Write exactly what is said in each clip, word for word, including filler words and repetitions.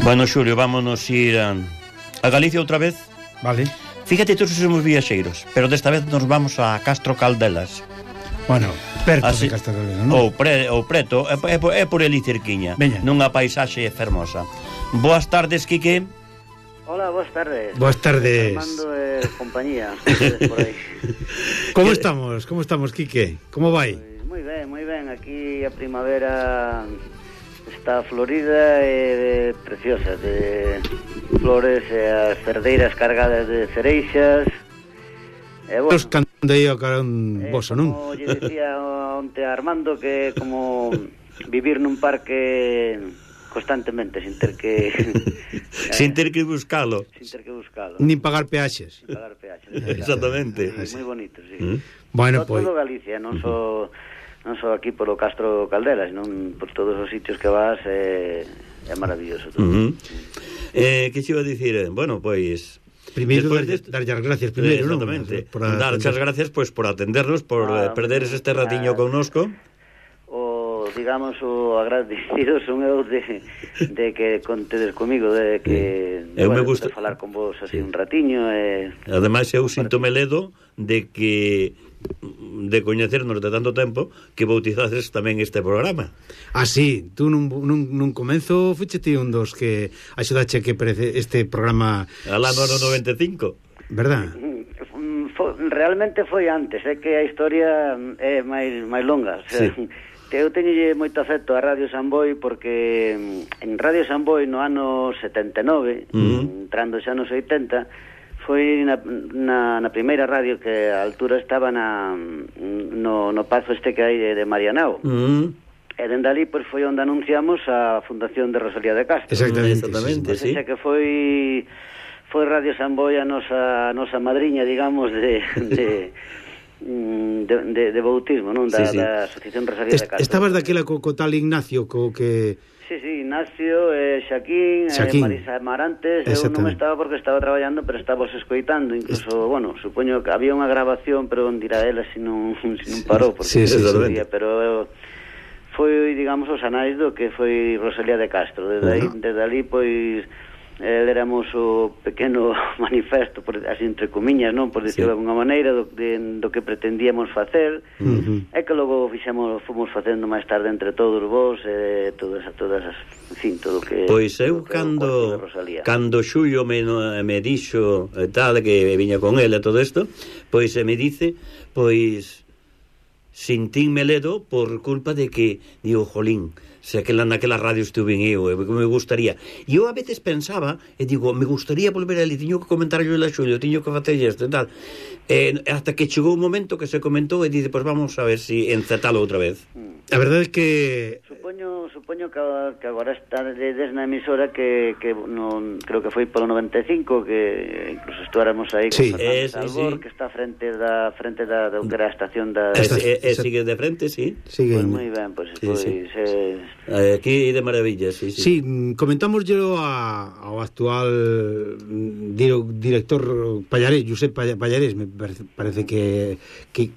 Bueno, Xulio, vámonos ir a, a Galicia outra vez. Vale. Fíjate, todos somos viaxeiros, pero desta vez nos vamos a Castro Caldelas. Bueno, perto Así, de Castro Caldelas, non? Ou, pre, ou preto, é, é, é por ali cerquiña. Veña. Nunha paisaxe fermosa. Boas tardes, Quique. Hola, boas tardes. Boas tardes. Armando e compañía. Por aí. Como estamos? Como estamos, Quique? Como vai? Pues moi ben, moi ben. Aquí a primavera está florida e preciosa, de flores e as cerdeiras cargadas de cereixas. E bueno, Os candei ao carón eh, voso, non? como lle decía onte a Armando, que como vivir nun parque constantemente, sin ter que Sin ter que buscalo. sin ter que buscalo, Nin pagar peaxes. sin pagar peaxes. Exactamente. Sí, moi bonito, sí. Mm. Bueno, todo, pois todo Galicia, non só non só aquí polo Castro Caldelas, non por todos os sitios que vas, é, é maravilloso todo. Uh -huh. eh, que xe iba a dicir? Bueno, pois primeiro dar, de... dar as gracias primeiro, non? Exactamente. Por Dar as gracias pois por atendernos, por Ah, eh, perderes este ratiño ah, connosco. O, digamos, o agradecido son eu de, de que contedes comigo, de que Eu me bueno, gusta de falar con vos así sí. un ratiño e... Ademais eu sinto meledo de que de coñecernos de tanto tempo que bautizades tamén este programa. Ah, sí, tú nun, nun, nun comenzo fuchete un dos que axudache que prece este programa Al ano noventa e cinco. verdad? Fo, realmente foi antes, é que a historia é máis máis longa, o sea, Sí. eu teñolle moito afecto a Radio Samboy porque en Radio Samboy no ano setenta e nove, Uh-huh. entrando xa nos oitenta, foi na, na, na primeira radio que a altura estaba na, no, no pazo este que hai de, de Marianao. Uh -huh. E dende ali pois, foi onde anunciamos a fundación de Rosalía de Castro. Exactamente, Exactamente, Sí, sí. xa que foi foi Radio Samboy a nosa, a nosa madriña, digamos, de... de De, de, de bautismo, non? Da, Sí, sí. da Asociación Rosalía Est de Castro. estabas daquela co, co tal Ignacio co que... Sí, sí, Ignacio, eh, Xaquín, Xaquín. Eh, Marisa Marantes. Eu non estaba porque estaba traballando, pero estaba os escoitando. Incluso, Est... bueno, supoño que había unha grabación, pero onde irá ela se non, se non parou, porque Sí, sí, non sí, sabía, pero eu, foi, digamos, os anais do que foi Rosalía de Castro. Desde, uh -huh. aí, desde ali, pois, eh, éramos o pequeno manifesto, por, así entre comiñas, non? Por dicirlo sí. de alguna maneira, do, de, do que pretendíamos facer, uh -huh. e que logo fixemos, fomos facendo máis tarde entre todos vos, e eh, todas, todas as, en fin, todo o que... Pois eu, que cando, cando Xulio me, me dixo e tal, que viña con ele e todo isto, pois me dice, pois, sintínme ledo por culpa de que, digo, jolín, se aquela naquela radio estuve en eu, e me gustaría. E eu a veces pensaba, e digo, me gustaría volver ali, tiño que comentar yo a Xulio, tiño que facer isto e tal. E hasta que chegou un momento que se comentou e dice, pois pues vamos a ver si encertalo outra vez. A verdade é que... Supoño, supoño que, que agora está desde na emisora que, que non, creo que foi polo noventa e cinco, que incluso estuáramos aí sí. con Eh, Fernández sí, Albor, sí. que está frente da frente da, da que era a estación da... E, e, e sigue de frente, sí. Sigue Pois moi ben, pois, Sí, pois sí. eh, Aquí de maravilla, sí, sí. Sí, comentamos yo a, ao actual dir, director Pallarés, Josep Pallarés, me parece, parece que, que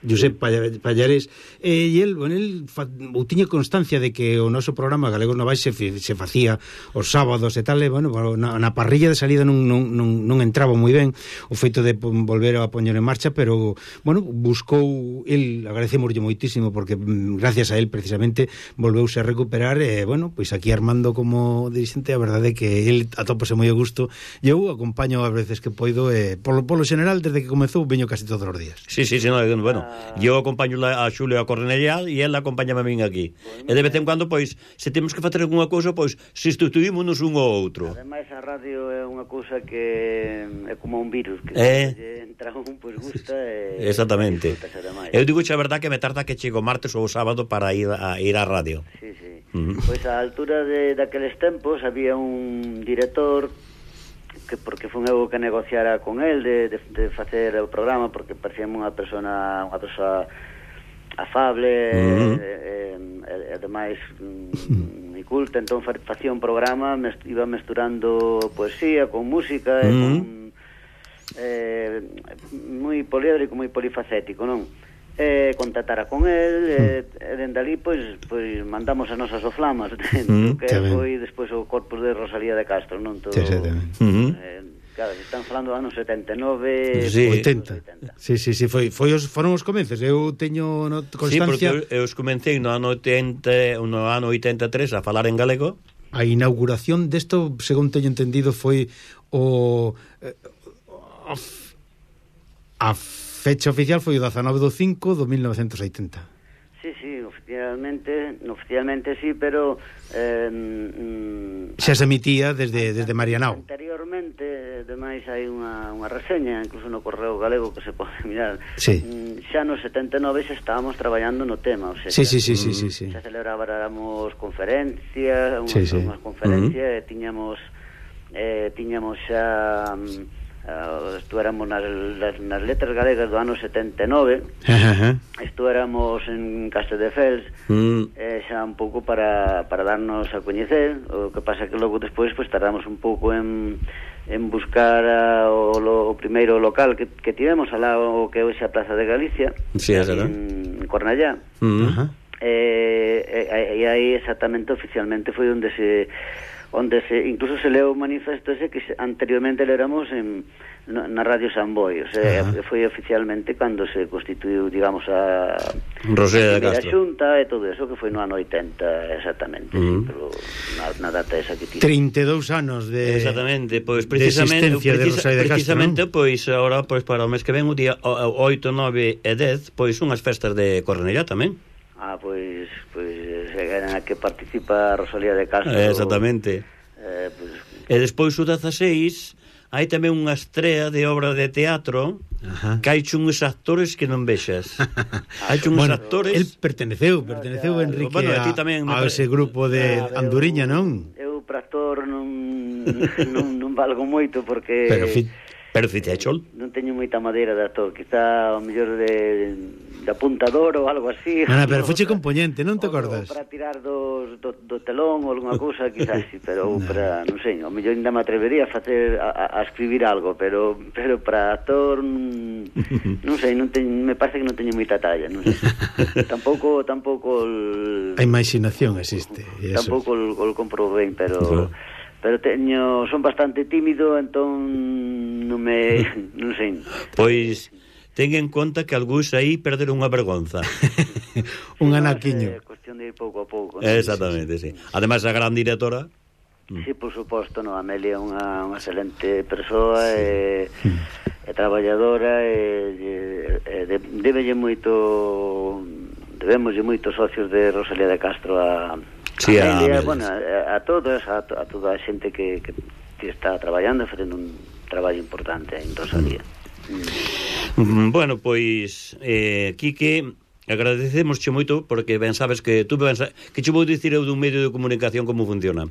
Josep Pallarés, e eh, el, bueno, el fa, ou tiña constancia de que o noso programa Galegos Novais se, se facía os sábados e tal, e, bueno, na, na parrilla de salida non, non, non, non entraba moi ben o feito de volver a poñer en marcha, pero, bueno, buscou, el, agradecemoslle moitísimo, porque gracias a él, precisamente, volveuse a recuperar, e, bueno, pois aquí Armando como dirixente, a verdade é que el atópase moi a gusto, e eu acompaño a veces que poido, e, polo, polo general, desde que comezou, veño casi todos os días. Sí, sí, sí, no, bueno, eu acompaño a Xulio a Cornellá e ela acompáñame a min aquí. E de vez en cuando, pois, se temos que facer algunha cousa, pois, sustituímonos un ou outro. Ademais, a radio é unha cousa que é como un virus, que eh? se entra un, pois gusta e... Exactamente. E eu digo xa a verdad que me tarda que chego martes ou sábado para ir a, ir á radio. Sí, sí. Uh -huh. Pois a altura de daqueles tempos había un director que porque foi eu que negociara con el de, de, de facer o programa, porque parecía unha persona unha persoa afable, uh-huh. e, e, e ademais moi culta, entón facía un programa, mest, iba mesturando poesía con música, uh-huh. e con eh, moi poliédrico, moi polifacético, non? eh, contactara con el, eh, e dende ali, pois, pois mandamos as nosas oflamas, mm, que foi despois o corpus de Rosalía de Castro, non? Todo, sí, sí, tamén. Eh, claro, están falando do ano setenta e nove, sí, oitenta. Sí, sí, sí, foi, foi os, foron os comenzos. Eu teño no, constancia. Sí, porque eu, eu os comecei no ano oitenta, no ano oitenta e tres a falar en galego. A inauguración desto, según teño entendido, foi o a, a fecha oficial foi o dezanove do cinco do mil novecentos e oitenta. Sí, sí, oficialmente, oficialmente sí, pero eh, mm, xa se emitía desde desde Marianao. Anteriormente, ademais hai unha, unha reseña, incluso no Correo Galego que se pode mirar. Sí. Xa no setenta e nove xa estábamos traballando no tema, o sea, sí, sí, sí, sí, sí, sí. xa celebrábamos conferencias, unhas, sí, sí. unhas conferencias, uh -huh. e tiñamos eh, tiñamos xa Uh, estuéramos nas, nas, nas letras galegas do ano setenta e nove. uh -huh. Estuéramos en Castedefels, mm. eh, xa un pouco para, para darnos a coñecer. O que pasa que logo despois pues, tardamos un pouco en, en buscar a, o, lo, o primeiro local que, que tivemos alá o que hoxe a Plaza de Galicia, sí, en, en Cornellá. Mm. Uh -huh. eh, e, e aí exactamente oficialmente foi onde se onde se incluso se leu o manifesto ese que anteriormente léramos en na Radio San Boi, o sea, uh -huh. foi oficialmente cando se constituiu, digamos, a Rosalía de Castro, a Xunta e todo eso, que foi no ano oitenta exactamente, uh -huh. sí, pero na, na data esa que tiene trinta e dous anos de exactamente, pois precisamente de existencia precisa, de Rosalía de Castro, precisamente, ¿no? Pois agora, pois para o mes que ven, o día oito, nove e dez, pois unhas festas de Cornellá tamén. Ah, pois, pois en a que participa Rosalía de Castro. Exactamente. Eh, pues... E despois o dezaseis hai tamén unha estrea de obra de teatro. Ajá. Que hai uns actores que non vexas. Hai uns bueno, actores. El perteneceu, perteneceu no, Enrique bueno, a, tamén a ese grupo de ah, Anduriña, non? Eu para actor non, non, non valgo moito porque Pero fi... Pero fitechol. Non teño moita madeira de actor, quizá o mellor de, de apuntador ou algo así. Non, pero foche componente, non te acordas? Para tirar dos, do, do telón ou alguna cousa, quizás sí, pero no. para, non sei, o mellor ainda me atrevería a facer a, a escribir algo, pero pero para actor non sei, non teño, me parece que non teño moita talla, non sei. tampouco tampouco el, a imaginación existe. Tampouco o el compro ben, pero claro. Pero teño, son bastante tímido, entón non me, non sei. Pois ten en conta que algúns aí perderon unha vergonza. Un anaquiño. É cuestión de ir pouco a pouco, ¿no? Exactamente, sí. Además a gran directora. Sí, por suposto, no, Amelia é unha, unha excelente persoa e, e traballadora e, e de, debelle moito debemoslle moitos socios de Rosalía de Castro a sí, a, Amelia, a, bueno, a, a todos, a, a toda a xente que, que, que está traballando e facendo un traballo importante en Rosalía. Mm. Mm. Bueno, pois eh, Quique, agradecemosche moito porque ben sabes que tú ben sabes, que che vou dicir eu dun medio de comunicación como funciona.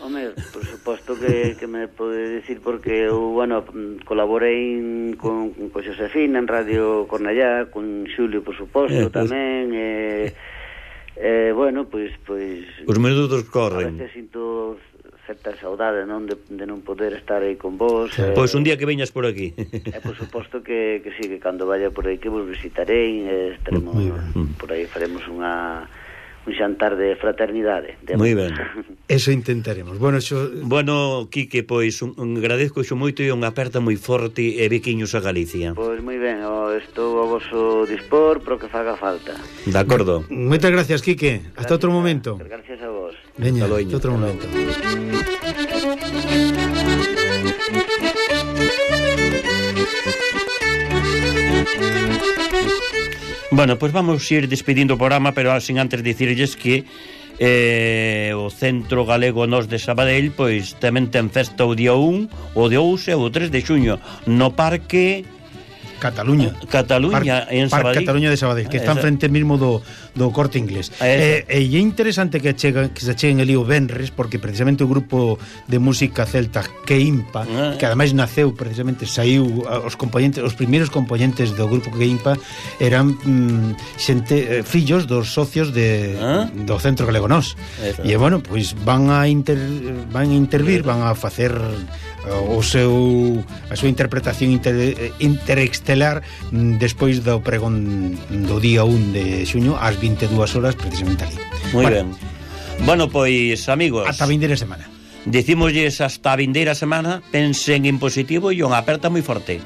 Home, por suposto que, que me pode dicir porque eu, bueno, colaborei con, con Xosefina en Radio Cornellá, con Xulio, por suposto, eh, pues... tamén, e... Eh, Eh, bueno, pois, pois os minutos corren. A veces sinto certa saudade, non, de, de non poder estar aí con vos. Eh, pois un día que veñas por aquí. E por suposto que, que sí, que cando vaya por aí que vos visitarei, eh, estaremos por aí, faremos unha un xantar de fraternidade. De moi ben. Eso intentaremos. Bueno, xo... bueno, Quique, pois un, un agradezco xo moito e unha aperta moi forte e bequiños a Galicia. Pois moi ben, oh, estou a vosso dispor pro que faga falta. De acordo. Moitas gracias, Quique. Gracias, hasta outro momento. Gracias a vos. Veña, hasta outro momento. Bueno, pois pues vamos ir despedindo o programa, pero sin antes dicirlles que eh, o Centro Galego Nós de Sabadell pois tamén ten festa o día un, o dous e o tres de xuño no Parque Cataluña. Cataluña, Par, en Sabadell. Parque Cataluña de Sabadell, que está enfrente mesmo do, do Corte Inglés. E eh, eh, é interesante que, chega, que se cheguen ali o Benres, porque precisamente o grupo de música celta Queimpa, ah. que ademais naceu, precisamente, saiu os componentes, os primeiros componentes do grupo Queimpa eran mm, xente, eh, fillos dos socios de, ah. do Centro Galego Nós. E, bueno, pois van a inter, van a intervir, van a facer o seu a súa interpretación inter, interexterior estelar despois do pregón do día un de xuño ás vinte e dúas horas precisamente ali. Moi bueno, ben. Bueno, pois, amigos, ata a vindeira semana. Dicímosles hasta a vindeira semana, pensen en positivo e unha aperta moi forte.